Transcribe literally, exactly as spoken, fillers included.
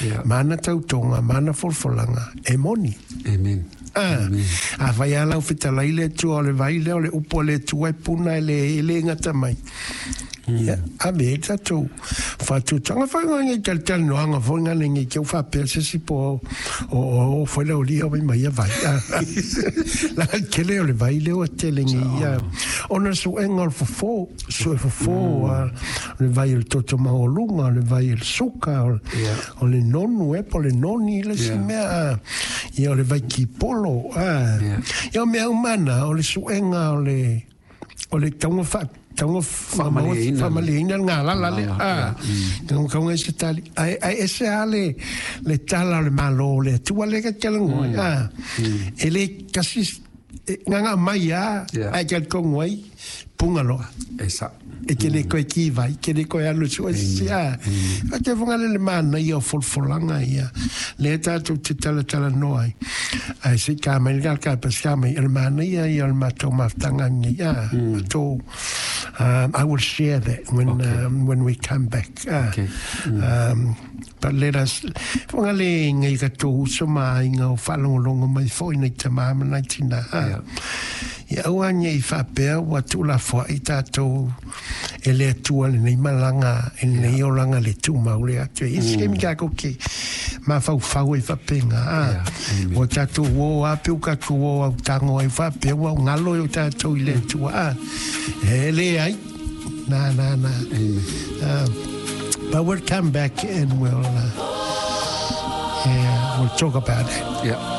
Yeah. Ma ana tautoga ma ana folafolaga e moni. Amen. Ah, afai lava lau fetalai le Atua o le vai lea o le upu a le Atua e puna e le e le gata mai. Ia, ave ai le tatou faatuatuaga foi nai talatalanoaga foi gale nei te faapea se isi po o o foi le aualii mai mai ia vai. Leaga le tele o le vai lea ua tele nei ia. Ona o le suega o le fofo, sue fofo, o le vai o le toto maualuga, o le vai o le suka, o le nonu ea po o le noni le isi mea. Ia o le vai kipolo. Ia o mea uma na, o le suega o le o le tauga faa tauga faamalieina le galala lea. A, tauga i se tali. Ae, ae ese lava le, le tala o le Malo o le Atua lea ka te talanoa ai. A, e le tasi, e gaga mai lava, ae talitonu ai, puga loa. E sao. E te le toe ki vai, te le toe alu e sue se isi. A, te whangale le manaia o folafolaga ia, lea tatou te talatalanoa ai. Ae se i ta mai le ka pa se mai o le manaia ia o le matou mafutaga nei. A, matou, um, I will share that when, Okay. um, when we come back. Ah, Okay. Um, but let us, whangale ngai ka tō uso ma aiga o whaalongolongo mai foi nei tamā ma nai tina. Ah. Yeah. Ia aua nei faapea ua tuulafoai tatou e le Atua lenei malaga i lenei olaga le tumau le atu e isi taimi tatou te mafaufau ai faapena a ua tatou o lava pe ua tatou o autago ai faapea ua galo e o tatou i le Atua a e leai na na na. Um, but we'll come back and we'll uh, yeah, we'll talk about it. Yeah.